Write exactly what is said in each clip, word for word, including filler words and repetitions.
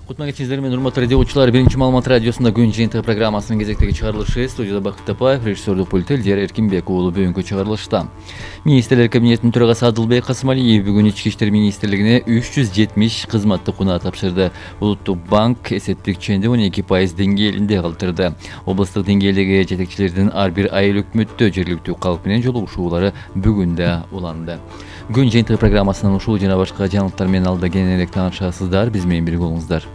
Кутман кечиңиздер менен урматтуу радио окуучулар, биринчи маалымат радиосунда күн жыйынтыгы программасынын кезектеги чыгарылышы. Студияда Бакыт Тапаев, режиссердук пульт Элдер Эркинбек уулу бүгүнкү чыгарылышта. Министрлер кабинетинин төрагасы Адылбек Касымалиев бүгүн Ички иштер министрлигине үч жүз жетимиш кызматтык унаа тапшырды. Улуттук банк эсептик ченди он эки пайыз деңгээлинде калтырды. Облустук деңгээлдеги жетекчилердин ар бир айыл өкмөттө жергиликтүү калк менен жолугушуулары бүгүн да уланды. Күн жыйынтыгы программасынан ушул жана башка жаңылыктар менен алда кененирээк таанышасыздар. Биз менен бирге болуңуздар.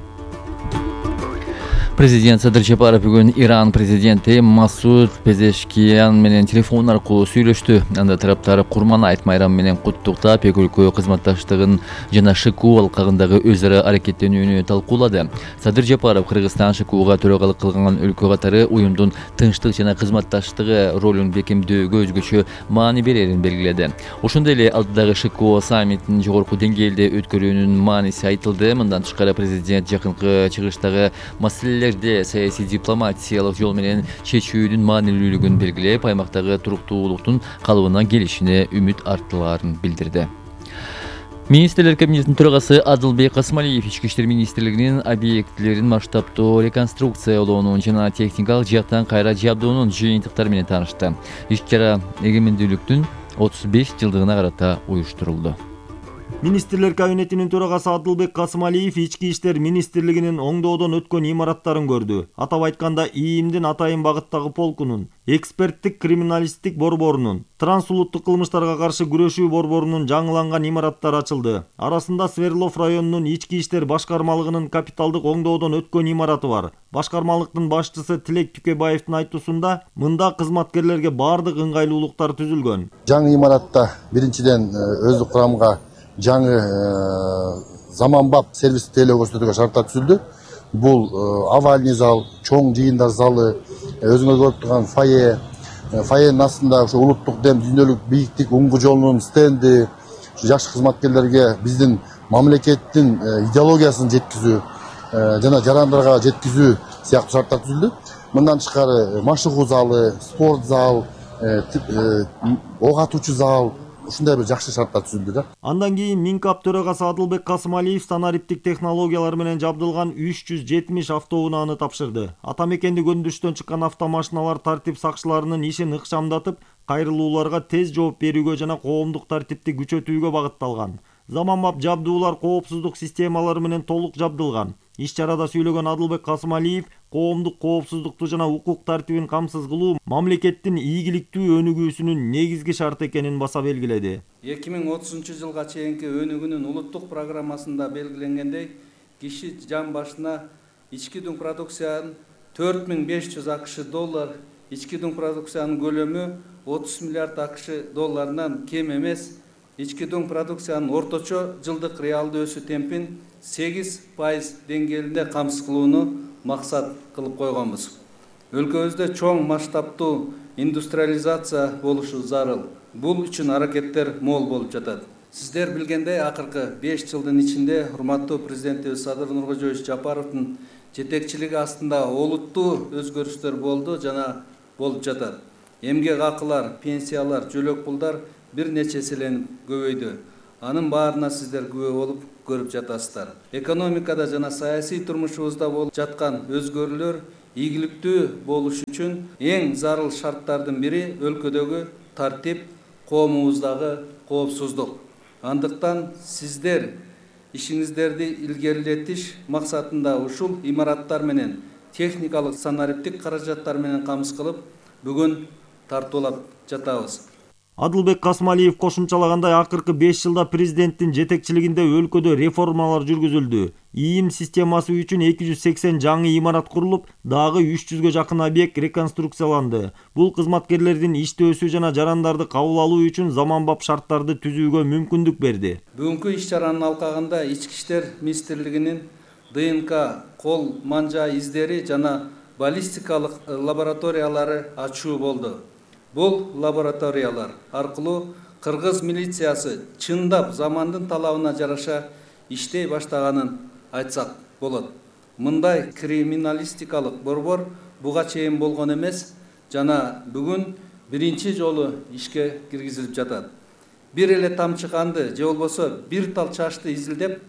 Президент Садыр Жапаров бүгүн Иран президенти Масуд Пезешкиян менен телефон аркылуу сүйлөштү. Анда тараптар Курман айт майрамы менен куттуктап, эки өлкө кызматташтыгын жана ШКУ алкагындагы өз ара аракеттенүүнү талкуулады. Садыр Жапаров Кыргызстан ШКУга төрагалык кылган өлкө катары уюмдун тынчтык жана кызматташтыгы ролун бекемдөөгө өзгөчө маани берерин белгиледи. Ошондой эле алдыдагы ШКУ саммитин жогорку деңгээлде өткөрүүнүн мааниси айтылды. Мындан тышкары президент жакынкы чыгыштагы маселелер саясий дипломатиялык жол менен чечүүнүн маанилүүлүгүн белгилеп, аймактагы туруктуулуктун калыбына келишине үмүт арттыларын билдирди. Министрлер кабинетинин төрагасы Адылбек Касымалиев Ички иштер министрлигинин объектилерин масштабтуу реконструкциялоонун жана техникалык жактан кайра жабдоонун жыйынтыктары менен таанышты. Иш-чара эгемендүүлүктүн отуз беш жылдыгына карата уюштурулду. Министрлер кабинетинин төрагасы Адылбек Касымалиев Ички иштер министрлигинин оңдоодон өткөн имараттарын көрдү. Атап айтканда, ИИМдин Атайын багыттагы полкунун, эксперттик криминалисттик борборунун, трансулуттук кылмыштарга каршы күрөшүү борборунун жаңыланган имараттары ачылды. Арасында Свердлов районунун Ички иштер башкармалыгынын капиталдык оңдоодон өткөн имараты бар. Башкармалыктын башчысы Тилек Түкебаевдин айтуусунда, мында кызматкерлерге баардык ыңгайлуулуктар түзүлгөн. Жаңы имаратта биринчиден өздүк курамга жаңы заманбап сервистик тейлөө көрсөтүүгө шарттар түзүлдү. Бул овальный зал, чоң жыйындар залы, өзүңөр көрүп турган фойе, фойенин астында ошо улуттук дем, дүйнөлүк бийиктик уңгу жолунун стенди, жаш кызматкерлерге биздин мамлекеттин идеологиясын жеткизүү жана жарандарга жеткизүү сыяктуу шарттар түзүлдү. Мындан тышкары машыгуу залы, спорт зал, ок атуучу зал, ушундай бир жакшы шарттар түзүлдү да. Андан кийин Минкап төрагасы Адылбек Касымалиев санариптик технологиялар менен жабдылган үч жүз жетимиш автоунааны тапшырды. Ата мекенди көндүрүштөн чыккан автомашиналар тартип сакчыларынын ишин ыкчамдатып, кайрылууларга тез жооп берүүгө жана коомдук тартипти күчөтүүгө багытталган. Заманбап жабдуулар коопсуздук системалары менен толук жабдылган. Иш-чарада сүйлөгөн Адылбек Касымалиев коомдук коопсуздукту жана укук тартибин камсыз кылуу мамлекеттин ийгиликтүү өнүгүүсүнүн негизги шарты экенин баса белгиледи. эки миң отузунчу жылга чейинки өнүгүүнүн улуттук программасында белгиленгендей, киши жан башына ички дүң продукциянын төрт миң беш жүз акш доллар, ички дүң продукциянын көлөмү отуз миллиард акш долларынан кем эмес. Ички дүң продукциянын орточо жылдык реалдуу өсүү темпин сегиз пайыз деңгээлинде камсыз кылууну максат кылып койгонбуз. Өлкөбүздө чоң масштабтуу индустриализация болушу зарыл. Бул үчүн аракеттер мол болуп жатат. Сиздер билгендей, акыркы беш жылдын ичинде урматтуу президентибиз Садыр Нуркожоевич Жапаровдун жетекчилиги астында олуттуу өзгөрүштөр болду жана болуп жатат. Эмгек акылар, пенсиялар, жөлөк пулдар бир нече эселенип көбөйдү. Анын баарына сиздер күбө болуп көрүп жатасыздар. Экономикада жана саясий турмушубузда болуп жаткан өзгөрүүлөр ийгиликтүү болуш үчүн эң зарыл шарттардын бири өлкөдөгү тартип, коомубуздагы коопсуздук. Андыктан сиздер ишиңиздерди илгерилетиш максатында ушул имараттар менен техникалык санариптик каражаттар менен камсыз кылып, бүгүн тартуулап жатабыз. Адылбек Касымалиев кошумчалагандай, акыркы беш жылда президенттин жетекчилигинде өлкөдө реформалар жүргүзүлдү. ИИМ системасы үчүн эки жүз сексен жаңы имарат курулуп, дагы үч жүзгө жакын объект реконструкцияланды. Бул кызматкерлердин иштөөсү жана жарандарды кабыл алуу үчүн заманбап шарттарды түзүүгө мүмкүндүк берди. Бүгүнкү иш-чаранын алкагында Ички иштер министрлигинин ДНК, кол манжа издери жана баллистикалык лабораториялары ачуу болду. Бул лабораториялар аркылуу кыргыз милициясы чындап замандын талабына жараша иштей баштаганын айтсак болот. Мындай криминалистикалык борбор буга чейин болгон эмес жана бүгүн биринчи жолу ишке киргизилип жатат. Бир эле тамчы канды же болбосо бир тал чачты изилдеп,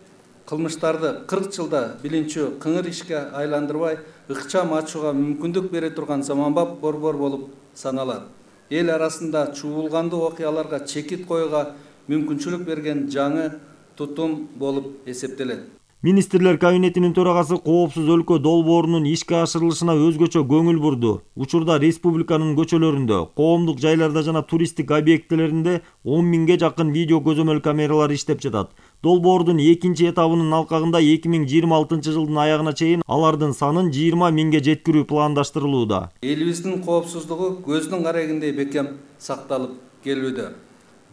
кылмыштарды кырк жылда билинчүү кыңыр ишке айландырбай ыкчам ачууга мүмкүндүк бере турган заманбап борбор болуп саналат. Эл арасында чуулгандуу окуяларга чекит коюуга мүмкүнчүлүк берген жаңы тутум болуп эсептелет. Министрлер кабинетинин төрагасы коопсуз өлкө долбоорунун ишке ашырылышына өзгөчө көңүл бурду. Учурда республиканын көчөлөрүндө, коомдук жайларда жана туристтик объектилеринде он миңге жакын видео көзөмөл камералары иштеп жатат. Долбоордун экинчи этабынын алкагында эки миң жыйырма алтынчы жылдын аягына чейин алардын санын жыйырма миңге жеткирүү пландаштырылууда. Элибиздин коопсуздугу көздүн карегиндей бекем сакталып келүүдө.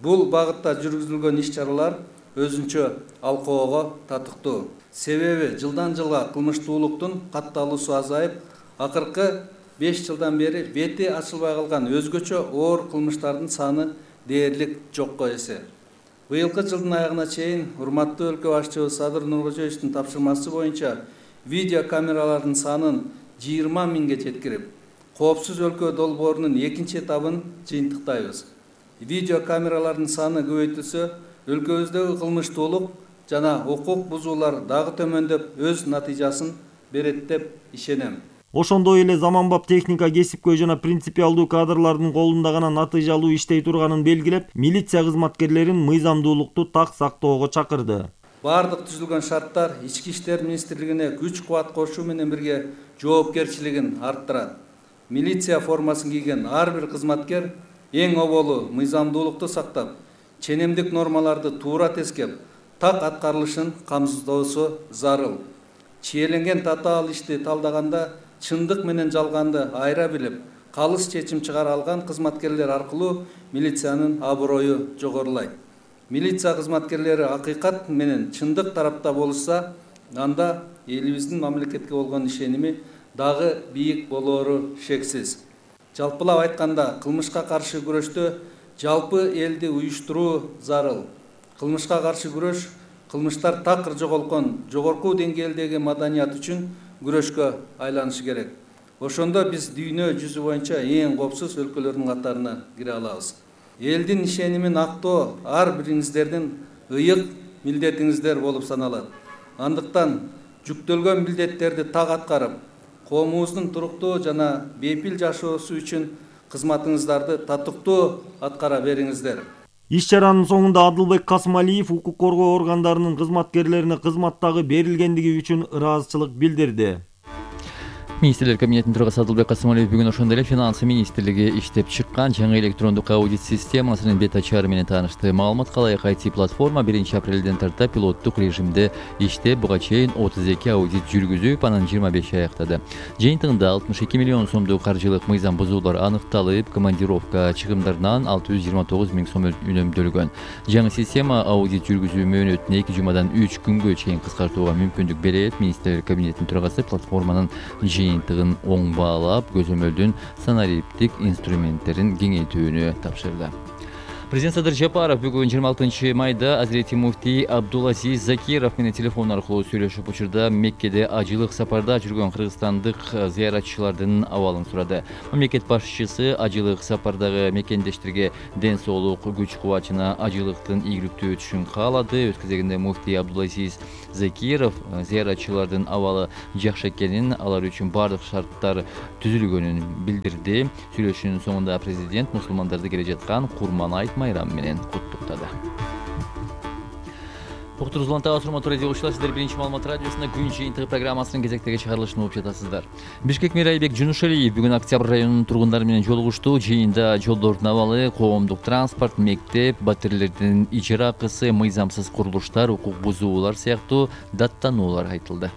Бул багытта жүргүзүлгөн иш-чаралар өзүнчө алкоого татыктуу. Себеби жылдан жылга кылмыштуулуктун катталуусу азайып, акыркы беш жылдан бери бети ачылбай калган өзгөчө оор кылмыштардын саны дээрлик жокко эсе. Быйылкы жылдын аягына чейин урматтуу өлкө башчыбыз Садыр Нуркожоевичтин тапшырмасы боюнча видео камералардын санын жыйырма миңге жеткирип, коопсуз өлкө долбоорунун экинчи этабын жыйынтыктайбыз. Видео камералардын саны көбөйтүлсө, өлкөбүздөгү кылмыштуулук жана укук бузуулар дагы төмөндөп өз натыйжасын берет деп ишенем. Ошондой эле заманбап техника кесипкөй жана принципиалдуу кадрлардын колунда гана натыйжалуу иштей турганын белгилеп, милиция кызматкерлерин мыйзамдуулукту так сактоого чакырды. Бардык түзүлгөн шарттар Ички иштер министрлигине күч кубат кошуу менен бирге жоопкерчилигин арттырат. Милиция формасын кийген ар бир кызматкер эң оболу мыйзамдуулукту сактап, ченемдик нормаларды туура тескеп, так аткарылышын камсыздоосу зарыл. Чиеленген татаал ишти талдаганда чындык менен жалганды айыра билип, калыс чечим чыгара алган кызматкерлер аркылуу милициянын аброю жогорулайт. Милиция кызматкерлери акыйкат менен чындык тарапта болушса, анда элибиздин мамлекетке болгон ишеними дагы бийик болоору шексиз. Жалпылап айтканда, кылмышка каршы күрөштө жалпы элди уюштуруу зарыл. Кылмышка каршы күрөш кылмыштар такыр жоголгон жогорку деңгээлдеги маданият үчүн күрөшкө айланышы керек. Ошондо биз дүйнө жүзү боюнча эң коопсуз өлкөлөрдүн катарына кире алабыз. Элдин ишенимин актоо ар бириңиздердин ыйык милдетиңиздер болуп саналат. Андыктан жүктөлгөн милдеттерди так аткарып, коомубуздун туруктуу жана бейпил жашоосу үчүн кызматыңыздарды татыктуу аткара бериңиздер. Иш-чаранын соңунда Адылбек Касымалиев укук коргоо органдарынын кызматкерлерине кызматтагы берилгендиги үчүн ыраазычылык билдирди. Министрлер кабинетинин төрагасы Адылбек Касымалиев бүгүн ошондой эле Финансы министрлиги иштеп чыккан жаңы электрондук аудит системасынын бет ачары менен таанышты. Маалымат калайык ай ти платформа биринчи апрелден тарта пилоттук режимде иштеп, буга чейин отуз эки аудит жүргүзүп, анын жыйырма беши аяктады. Жыйынтыгында алтымыш эки миллион сомдук каржылык мыйзам бузуулар аныкталып, командировка чыгымдарынан алты жүз жыйырма тогуз миң сом үнөмдөлгөн. Жаңы система аудит жүргүзүү мөөнөтүн эки жумадан үч күнгө чейин кыскартууга мүмкүндүк берет. Министрлер кабинетинин төрагасы платформанын жыйынтыгын оң баалап, көзөмөлдүн санариптик инструменттерин кеңейтүүнү тапшырды. Президент Садыр Жапаров бүгүн жыйырма алтынчы майда Азирети муфтий Абдулазиз Закиров менен телефон аркылуу сүйлөшүп, учурда Меккеде ажылык сапарда жүргөн кыргызстандык зыяратчылардын абалын сурады. Мамлекет башчысы ажылык сапардагы мекендештерге ден соолук, күч кубат жана ажылыктын ийгиликтүү өтүшүн каалады. Өз кезегинде муфтий Абдулазиз Закиров зыяратчылардын абалы жакшы экенин, алар үчүн бардык шарттар түзүлгөнүн билдирди. Сүйлөшүүнүн соңунда президент мусулмандарды келе жаткан Курман айт майрамы менен куттуктады. Уктуруңуз улантабыз, урматтуу радио угуучулар, сиздер биринчи маалымат радиосунда күн жыйынтыгы программасынын кезектеги чыгарылышын угуп жатасыздар. Бишкек мэрайбек Жунушалиев бүгүн Октябрь районунун тургундары менен жолугушту. Жыйында жолдордун абалы, коомдук транспорт, мектеп, батирлердин ижара акысы, мыйзамсыз курулуштар, укук бузуулар сыяктуу даттануулар айтылды.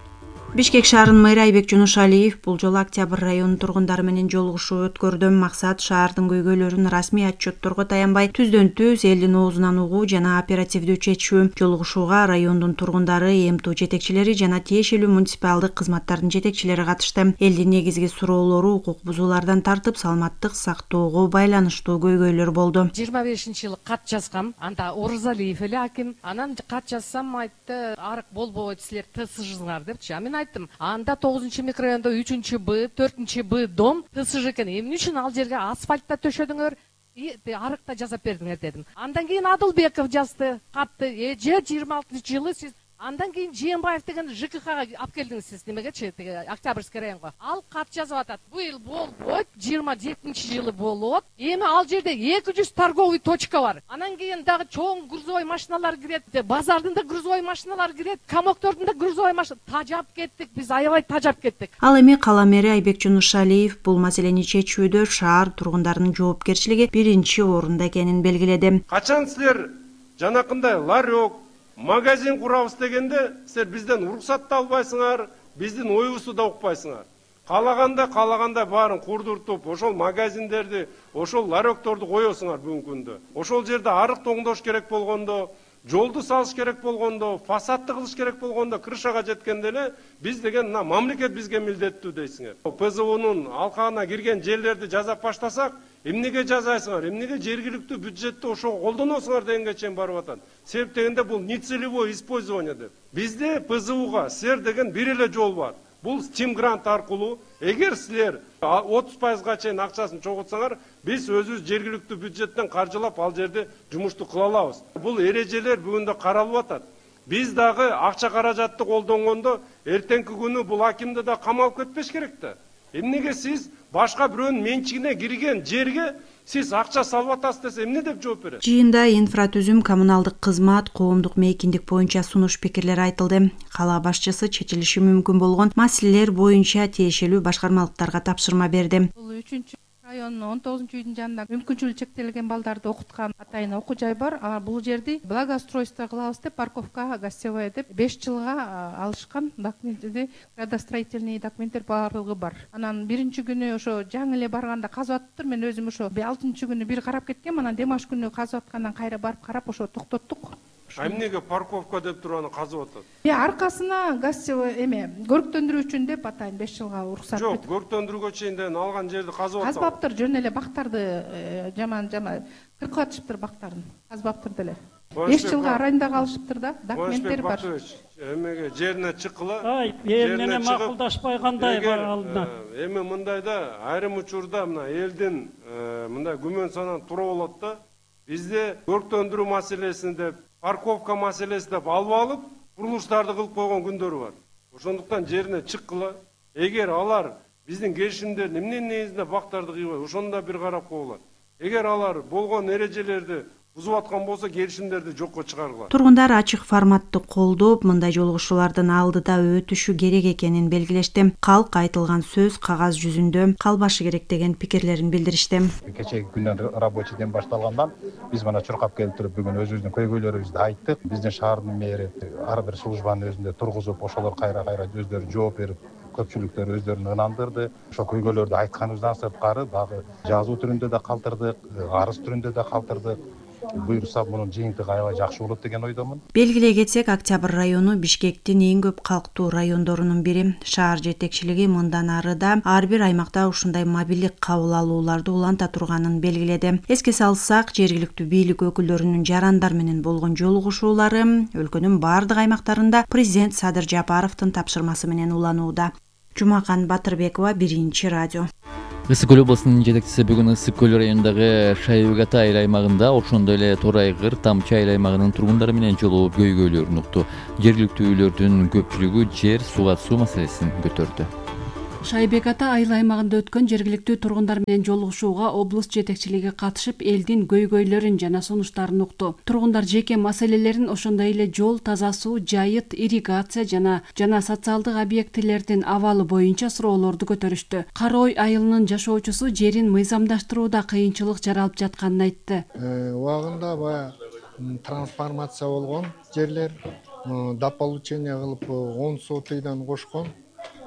Бишкек шаарынын мэрі Айбек Жунушалиев бул жолу Октябрь районунун тургундары менен жолугушуу өткөрдү. Максат шаардын көйгөйлөрүн расмий отчетторго таянбай түздөн түз элдин оозунан угуу жана оперативдүү чечүү. Жолугушууга райондун тургундары, эми жетекчилери жана тиешелүү муниципалдык кызматтардын жетекчилери катышты. Элдин негизги суроолору укук бузуулардан тартып саламаттык сактоого байланыштуу көйгөйлөр болду. жыйырма бешинчи жылы кат жазгам, анда Орузалиев эле аким. Анан кат жазсам айтты, арык болбойт, силер тсжыңар депчи. Мен айттым, анда тогузунчу микрорайондо үчүнчү Б, төртүнчү Б дом тсж экен. Эмне үчүн ал жерге асфальтта төшөдүңөр, арыкта жасап бердиңер дедим. Андан кийин Адылбеков жазды катты. Эже жыйырма алтынчы жылы сиз Андан кийин Жээнбаев деген ЖКХга алып келдиңиз сиз немегечи, тиги Октябрьский районго. Ал кат жазып атат. Бул эл болбойт, жыйырма жетинчи жылы болот. Эми ал жерде эки жүз торговый точка бар. Анан кийин дагы чоң грузовой машиналар кирет, базардын да грузовой машиналар кирет, комоктордун да грузовой машина. Тажап кеттик, биз аябай тажап кеттик. Ал эми кала мэри Айбек Жунушалиев бул маселени чечүүдө шаар тургундарынын жоопкерчилиги биринчи орунда экенин белгиледи. Качан силер жанакындай ларек, магазин курабыз дегенде силер бизден уруксат да албайсыңар, биздин оюбузду да укпайсыңар. Каалаганда каалаганда баарын курдуртуп, ошол магазиндерди, ошол ларекторду коесуңар бүгүнкү күндө. Ошол жерде арык тоңдош керек болгондо, жолду салыш керек болгондо, фасадты кылыш керек болгондо, крышага жеткенде эле биз деген мына мамлекет бизге милдеттүү дейсиңер. ПЗУнун алкагына кирген жерлерди жазап баштасак, эмнеге жазайсыңар, эмнеге жергиликтүү бюджетти ошого колдоносуңар дегенге чейин барып атат. Себеп дегенде бул нецелевое использование деп. Бизде ПЗУга сер деген бир эле жол бар. Бул Steam грант аркылуу, эгер силер отуз пайызга чейин акчасын чогултсаңар, биз өзүбүз жергиликтүү бюджеттен каржылап ал жерде жумушту кыла алабыз. Бул эрежелер бүгүндө каралып атат. Биз дагы акча каражатты колдонгондо эртеңки күнү бул акимди да камалып кетпеш керек да. Эмнеге сиз башка бирөөнүн менчигине кирген жерге сиз акча салып атасыз десе эмне деп жооп берет? Жыйында инфратүзүм, коммуналдык кызмат, коомдук мейкиндик боюнча сунуш пикирлер айтылды. Кала башчысы чечилиши мүмкүн болгон маселелер боюнча тиешелүү башкармалыктарга тапшырма берди. Бул үчүнчү райондун он тогузунчу үйдүн жанында мүмкүнчүлүгү чектелген балдарды окуткан атайын окуу жай бар. Бул жерди благоустройство кылабыз деп, парковка гостевая деп беш жылга алышкан документти, градостроительный документтер баардыгы бар. Анан биринчи күнү ошо жаңы эле барганда казып атыптыр. Мен өзүм ошо алтынчы күнү бир карап кеткем, анан демаш күнү казып аткандан кайра барып карап ошо токтоттук. А эмнеге парковка деп туруп аны казып атат? Э, аркасына гостевой эме көрктөндүрүү үчүн деп атайын беш жылга уруксат. Жок, көрктөндүрүүгө чейин алган жерди казып атат. Казбаптыр, жөн эле бактарды жаман жаман кыркып атышыптыр бактарын. Казбаптыр деле. беш жылга арайында калышыптыр да, документтер бар. Эмеге жерине чыккыла. Ай, эл менен макулдашпай кандай бар алына. Эми мындайда айрым учурда мына элдин мындай күмөн санан тура болот да. Бизде көрктөндүрүү маселесин деп, парковка маселеси деп алып алып, курулуштарды кылып койгон күндөр бар. Ошондуктан жерине чыккыла. Эгер алар биздин келишимдердин эмне негизинде бактарды кыйбай, ошондо бир карап коелат. Эгер алар болгон эрежелерди бузуп аткан болсо, келишимдерди жокко чыгаргыла. Тургундар ачык форматты колдоп, мындай жолугушуулардын алдыда өтүшү керек экенин белгилешти. Калк айтылган сөз кагаз жүзүндө калбашы керек деген пикирлерин билдиришти. Кечеги күндөн рабочий ден башталгандан биз мына чуркап келип бүгүн өзүбүздүн көйгөйлөрүбүздү айттык. Биздин шаардын мэри ар бир службанын өзүндө тургузуп, ошолор кайра-кайра өздөрү жооп берип, көпчүлүктөр өздөрүн ынандырды. Ошо көйгөйлөрдү айтканыбыздан сырткары дагы жазуу түрүндө да калтырдык, арыз түрүндө да калтырдык. Буйрса мунун жыйынтыгы аябай жакшы болот деген ойдомун. Белгилей кетсек, Октябрь району Бишкектин эң көп калктуу райондорунун бири. Шаар жетекчилиги мындан арыда ар бир аймакта ушундай мобилдик кабыл алууларды уланта турганын белгиледи. Эске салсак, жергиликтүү бийлик өкүлдөрүнүн жарандар менен болгон жолугушуулары өлкөнүн бардык аймактарында президент Садыр Жапаровдун тапшырмасы менен уланууда. Жумакан Батырбекова, Биринчи радио. Ысык көл облусунун жетекчиси бүгүн Ысык көл районундагы Шайыгата айыл аймагында, ошондой эле Торайгыр, Тамчы айыл аймагынын тургундары менен жолугуп көйгөйлөрүн укту. Жергиликтүү үйлөрдүн көпчүлүгү жер, сууга суу маселесин көтөрдү. Шайбеката айыл аймагында өткөн жергиликтүү тургундар менен жолугушууга облус жетекчилиги катышып, элдин көйгөйлөрүн жана сунуштарын укту. Тургундар жеке маселелерин, ошондой эле жол, таза суу, жайыт, ирригация жана жана социалдык объектилердин абалы боюнча суроолорду көтөрүштү. Кара Ой айылынын жашоочусу жерин мыйзамдаштырууда кыйынчылык жаралып жатканын айтты. Убагында баягы трансформация болгон жерлер дополучение кылып он сотыйдан кошкон.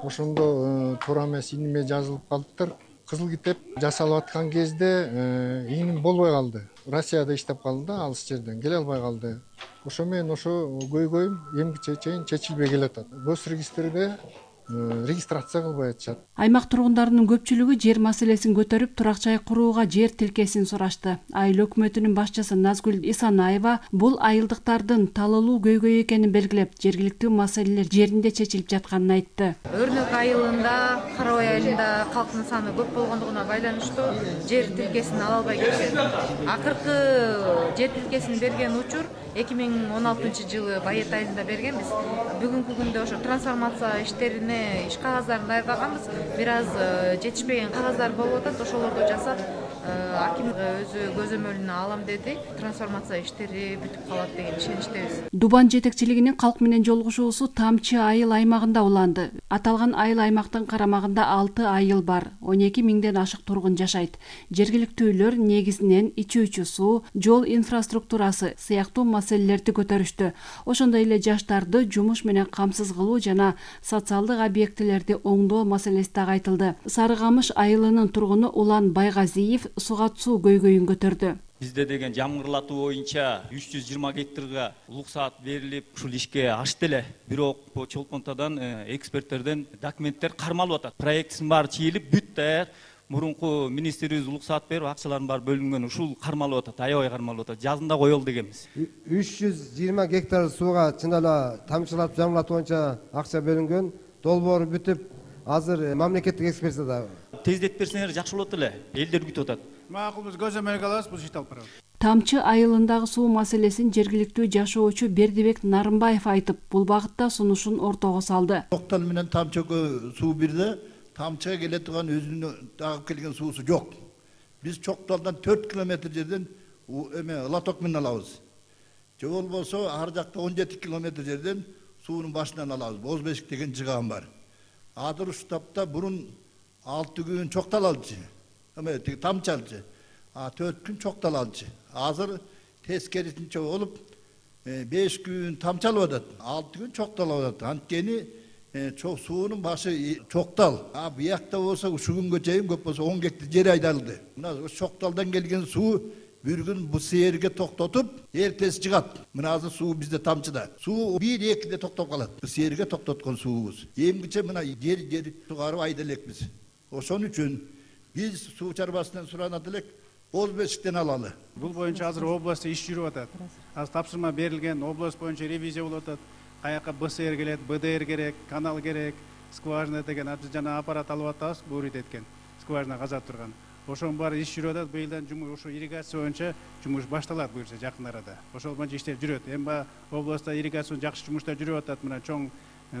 Ошондо туура эмес иниме жазылып калыптыр. Кызыл китеп жасалып аткан кезде иним болбой калды. Россияда иштеп калды да, алыс жерден келе албай калды. Ошо менен ошо көйгөйүм эмгиче чейин чечилбей келатат. Гос регистрде регистрация кылбай атышат. Аймак тургундарынын көпчүлүгү жер маселесин көтөрүп, турак жай курууга жер тилкесин сурашты. Айыл өкмөтүнүн башчысы Назгүл Исанаева бул айылдыктардын талалуу көйгөй экенин белгилеп, жергиликтүү маселелер жеринде чечилип жатканын айтты. Өрнөк айылында, Кара Ой айылында калктын саны көп болгондугуна байланыштуу жер тилкесин ала албай келишет. Акыркы жер тилкесин берген учур эки миң он алтынчы жылы байет айында бергенбиз. Бүгүнкү күндө ошо трансформация иштерине иш кагаздарын даярдаганбыз. Бир аз жетишпеген кагаздар болуп атат, ошолорду жасап аким өзү көзөмөлүнө алам деди. Трансформация иштери бүтүп калат деген ишеничтебиз. Дубан жетекчилигинин калк менен жолугушуусу Тамчы айыл аймагында уланды. Аталган айыл аймактын карамагында алты айыл бар. он эки миңден ашык тургун жашайт. Жергиликтүүлөр негизинен ичүүчү суу, жол инфраструктурасы сыяктуу маселелерди көтөрүштү. Ошондой эле жаштарды жумуш менен камсыз кылуу жана социалдык объектилерди оңдоо маселеси дагы айтылды. Сары Камыш айылынын тургуну Улан Байгазиев сугат суу көйгөйүн көтөрдү. Бизде деген жамгырлатуу боюнча үч жүз жыйырма гектарга уруксаат берилип, ушул ишке ашты эле. Бирок чолпонтадан эксперттерден документтер кармалып атат. Проектисин баары чийилип, бүт даяр. Мурунку министрибиз уруксаат берип, акчалардын баары бөлүнгөн. Ушул кармалып атат, аябай кармалып атат. Жазында коелу дегенбиз. үч жүз жыйырма гектар сууга чын эле тамчылатып жамгырлатуу боюнча акча бөлүнгөн. Долбоору бүтүп, азыр мамлекеттик экспертизада. Тездетип берсеңер жакшы болот эле. Элдер күтүп атат. Макул, биз көзөмөлгө алабыз, бул ишти алып барабыз. Тамчы айылындагы суу маселесин жергиликтүү жашоочу Бердибек Нарымбаев айтып, бул багытта сунушун ортого салды. Токтал менен Тамчыга суу бирде, Тамчыга келе турган өзүнүн агып келген суусу жок. Биз Чокталдан төрт километр жерден эме лоток менен алабыз. Же болбосо ар жакта он жети километр жерден суунун башынан алабыз. Боз Бешик деген жыган бар. Адыр уштапта бурун алты күн Чоктал алчы. Эме Тамчы алчы. А төрт күн Чоктал алчы. Азыр тескерисинче болуп беш күн Тамчы алып атат. алты күн Чоктал алып атат. Анткени чок суунун башы Чоктал. А буякта болсо ушу күнгө чейин көп болсо он гектар жер айдалды. Мына Чокталдан келген суу бир күн бу сээрге токтотуп, эртеси жыгат. Мына азыр суу бизде Тамчыда. Суу бир экиде токтоп калат. Бу сээрге токтоткон суубуз. Эмгиче мына жер жер сугарып айда элекпиз. Ошон үчүн биз суу чарбасынан суранат элек, Боз Бешиктен алалы. Бул боюнча азыр областта иш жүрүп атат. Азыр тапшырма берилген, область боюнча ревизия болуп атат. Каяка Б С Р келет, Б Д Р керек, канал керек, скважина деген жана аппарат алып атабыз, бурит эткен. Скважина казап турган. Ошонун баары иш жүрүп атат. Быйылдан жумуш ошо ирригация боюнча жумуш башталат буюрса жакын арада. Ошол боюнча иштер жүрөт. Эми областта ирригациянын жакшы жумуштар жүрүп атат. Мына чоң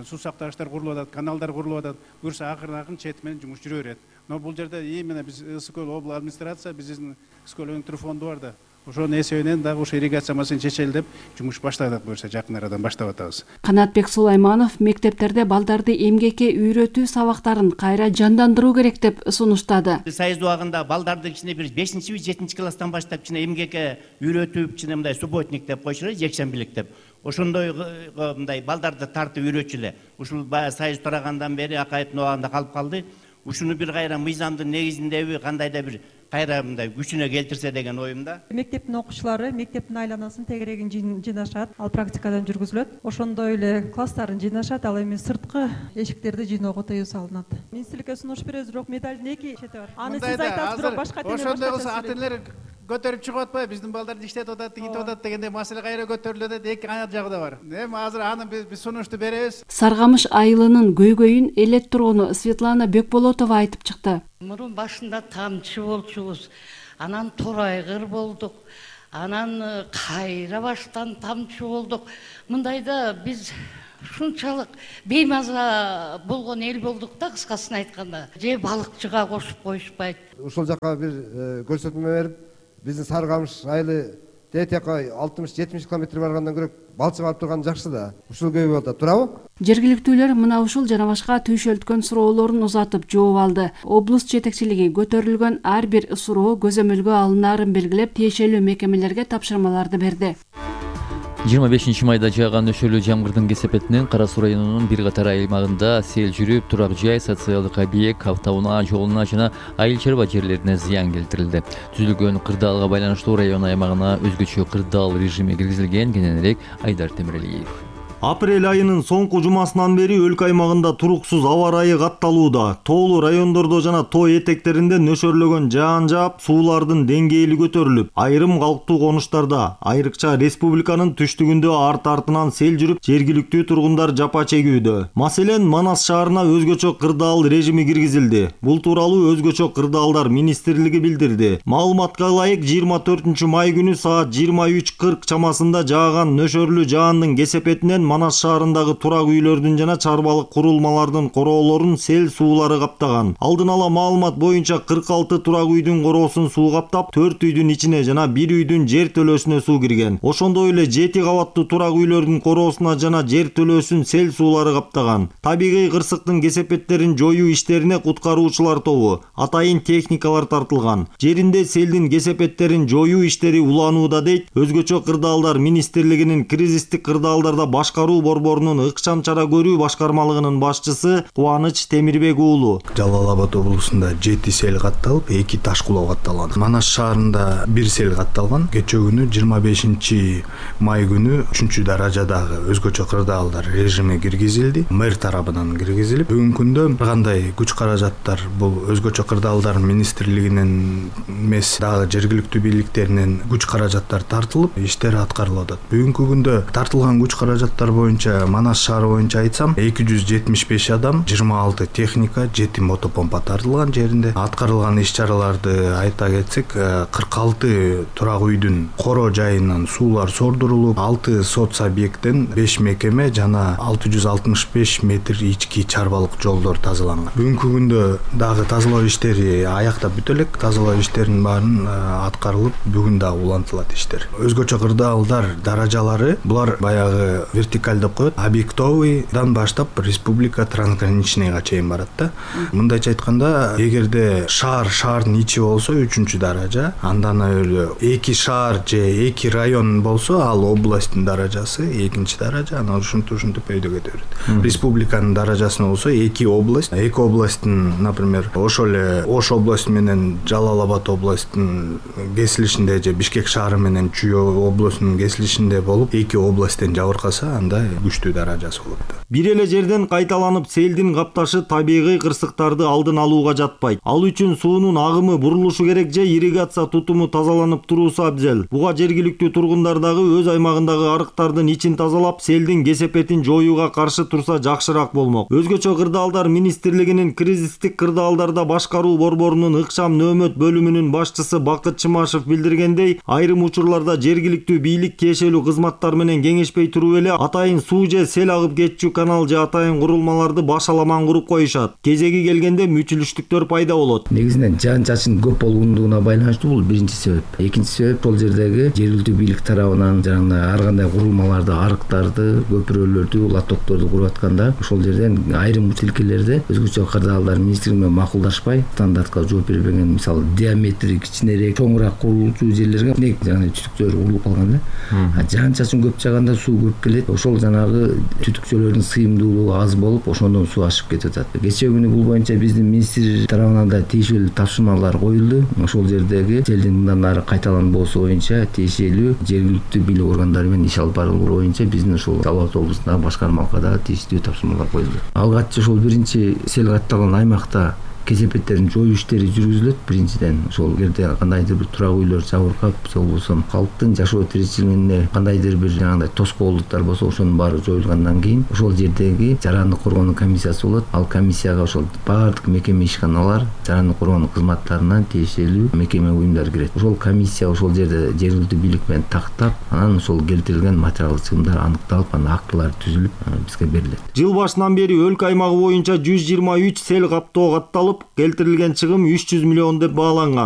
суу сактагычтар курулуп атат, каналдар курулуп атат. Буюрса акырын-акырын чет менен жумуш жүрө берет. Но бул жерде именно биз Ысыкөл областық администрация, биздин Ысыкөл өнүктүрүү фонду бар да. Ошонун эсебинен дагы ошо ирригация маселесин чечели деп жумуш баштадык буюрса жакын арадан баштап атабыз. Канатбек Сулайманов мектептерде балдарды эмгекке үйрөтүү сабактарын кайра жандандыруу керек деп сунуштады. Союз убагында балдарды кичине бир бешинчи жетинчи класстан баштап кичине эмгекке үйрөтүп, кичине мындай субботник деп койчулар, жекшембилик деп. Ошондой мындай балдарды тартып үйрөтчүлөр. Ушул баягы союз тарагандан бери акайыптын убагында калып калды. Ушуну бир кайра мыйзамдын негизиндеби кандайда бир кайра мындай күчүнө келтирсе деген оюмда. Мектептин окуучулары мектептин айланасын тегерегин жыйнашат, ал практикадан жүргүзүлөт. Ошондой эле класстарын жыйнашат, ал эми сырткы эшиктерди жыйноого тыюу салынат. Министрликке сунуш беребиз, бирок медалдын эки чети бар. Аны сиз айтасыз, бирок башка теме башка. Ошондой болсо ата-энелер көтөрүп чыгып атпайбы, биздин балдар иштеп атат, тигинтип атат дегенде маселе кайра көтөрүлөт, эки аяк жагы да бар. Эми азыр аны биз сунушту беребиз. Саргамыш айылынын көйгөйүн элет тургуну Светлана Бекболотова айтып чыкты. Мурун башында тамчы болчубуз, анан торайгыр болдук, анан кайра баштан тамчы болдук. Мындайда биз ушунчалык беймаза болгон эл болдук да, кыскасын айтканда. Же балыкчыга кошуп коюшпайт. Ушул жака бир көрсөтмө берип, биздин Саргамыш айылы тетека алтымыш жетимиш километр баргандан көрөк балчы барып турган жакшы да. Ушул көйгөй болот, туурабы? Жергиликтүүлөр мына ушул жана башка түйшөлткөн суроолорун узатып жооп алды. Облус жетекчилиги көтөрүлгөн ар бир суроо көзөмөлгө алынаарын белгилеп, тиешелүү мекемелерге тапшырмаларды берди. жыйырма бешинчи майда жааган нөшөлүү жамгырдын кесепетинен Кара Суу районунун бир катар аймагында сел жүрүп, турак жай, социалдык объект, автоунаа жолуна жана айыл чарба жерлерине зыян келтирилди. Түзүлгөн кырдаалга байланыштуу район аймагына өзгөчө кырдаал режими киргизилген. Кененирээк Айдар Темирелиев. Апрель айынын соңку жумасынан бери өлкө аймагында туруксуз аба ырайы катталууда. Тоолуу райондордо жана тоо этектеринде нөшөрлөгөн жаан жаап, суулардын деңгээли көтөрүлүп, айрым калктуу конуштарда, айрыкча республиканын түштүгүндө арт-артынан сел жүрүп, жергиликтүү тургундар жапа чегүүдө. Маселен, Манас шаарына өзгөчө кырдаал режими киргизилди. Бул тууралуу өзгөчө кырдаалдар министрлиги билдирди. Маалыматка ылайык, жыйырма төртүнчү май күнү саат жыйырма үч кырк чамасында жааган нөшөрлүү жаандын кесепетинен Манас шаарындагы турак үйлөрдүн жана чарбалык курулмалардын короолорун сел суулары каптаган. Алдын ала маалымат боюнча кырк алты турак үйдүн короосун суу каптап, төрт үйдүн ичине жана бир үйдүн жер төлөөсүнө суу кирген. Ошондой эле жети кабаттуу турак үйлөрдүн короосуна жана жер төлөөсүн сел суулары каптаган. Табигый кырсыктын кесепеттерин жоюу иштерине куткаруучулар тобу, атайын техникалар тартылган. Жеринде селдин кесепеттерин жоюу иштери уланууда дейт өзгөчө кырдаалдар министрлигинин кризистик кырдаалдарда башкаруу борборунун ыкчам чара көрүү башкармалыгынын башчысы Кубаныч Темирбек уулу. Жалал Абад облусунда жети сел катталып, эки таш кулоо катталган. Манас шаарында бир сел катталган. Кечээ күнү жыйырма бешинчи май күнү үчүнчү даражадагы өзгөчө кырдаалдар режими киргизилди. Мэр тарабынан киргизилип, бүгүнкү күндө кандай күч каражаттар бул өзгөчө кырдаалдар министрлигинин эмес, дагы жергиликтүү бийликтеринин күч каражаттар тартылып, иштер аткарылып атат. Бүгүнкү күндө тартылган күч каражаттар боюнча Манас шаары боюнча айтсам, эки жүз жетимиш беш адам, жыйырма алты техника, жети мотопомпа тартылган жеринде. Аткарылган иш-чараларды айта кетсек, кырк алты турак үйдүн коро жайынан суулар сордурулуп, алты соц объекттен беш мекеме жана алты жүз алтымыш беш метр ички чарбалык жолдор тазаланган. Бүгүнкү күндө дагы тазалоо иштери аяктап бүтө элек. Тазалоо иштеринин баарын аткарылып, бүгүн дагы улантылат иштер. Өзгөчө кырдаалдар даражалары булар баягы вертикаль деп коет. Объектовыйдан баштап республика трансграничныйга чейин барат да. Мындайча айтканда, эгерде шаар шаардын ичи болсо үчүнчү даража, андан эле эки шаар же эки район болсо, ал областтын даражасы экинчи даража, анан ушинтип ушинтип өйдө кете берет. Республиканын даражасына болсо эки область, эки областтын, например, ошол эле Ош областы менен Жалал Абад областтын кесилишинде же Бишкек шаары менен Чүй областынын кесилишинде болуп, эки областтен жабыркаса, анда күчтүү даражасы болот. Бир эле жерден кайталанып селдин капташы табигый кырсыктарды алдын алууга жатпайт. Ал үчүн суунун агымы бурулушу керек же ирригация тутуму тазаланып туруусу абзел. Буга жергиликтүү тургундар дагы өз аймагындагы арыктардын ичин тазалап, селдин кесепетин жоюуга каршы турса жакшыраак болмок. Өзгөчө кырдаалдар министрлигинин кризистик кырдаалдарда башкаруу борборунун ыкчам нөөмөт бөлүмүнүн башчысы Бакыт Чымашев билдиргендей, айрым учурларда жергиликтүү бийлик киешелүү кызматтар менен кеңешпей туруп эле атайын суу же сел агып кетчү канал же атайын курулмаларды башаламан куруп коюшат. Кезеги келгенде мүчүлүштүктөр пайда болот. Негизинен жаан чачын көп болгондугуна байланыштуу бул биринчи себеп. Экинчи себеп бул жердеги жергиликтүү бийлик тарабынан жана ар кандай курулмаларды, арыктарды, көпүрөлөрдү, латокторду куруп атканда, ошол жерден айрым училкелерде өзгөчө кырдаалдар министрлиги менен макулдашпай, стандартка жооп бербеген, мисалы диаметри кичинерээк, чоңураак курулуучу жерлерге нег жана түтүктөр курулуп калган да. Жаан чачын көп жааганда суу көп келет. Ошол жанагы түтүкчөлөрдүн сыйымдуулугу аз болуп, ошондон суу ашып кетип атат. Кечээ күнү бул боюнча биздин министрлик тарабынан да тийиштүү тапшырмалар коюлду. Ошол жердеги селдин мындан ары кайталанбоосу боюнча тийиштүү жергиликтүү бийлик органдары менен иш алып баруу боюнча биздин ушул Жалал Абад облусундагы башкармалыкка да тийиштүү тапшырмалар коюлду. Алгаччы ошол биринчи сел катталган аймакта кесепеттерин жоюу иштери жүргүзүлөт. Биринчиден ошол жерде кандайдыр бир турак үйлөр жабыркап, же болбосо калктын жашоо тиричилигине кандайдыр бир жанагындай тоскоолдуктар болсо, ошонун баары жоюлгандан кийин ошол жердеги жарандык коргоонун комиссиясы болот. Ал комиссияга ошол баардык мекеме ишканалар, жарандык коргоонун кызматтарынан тиешелүү мекеме уюмдар кирет. Ошол комиссия ошол жерде жергиликтүү бийлик менен тактап, анан ошол келтирилген материалдык чыгымдар аныкталып, анан актылар түзүлүп бизге берилет. Жыл башынан бери өлкө аймагы боюнча жүз жыйырма үч сел каптоо катталып, келтирилген чыгым үч жүз миллион деп бааланган.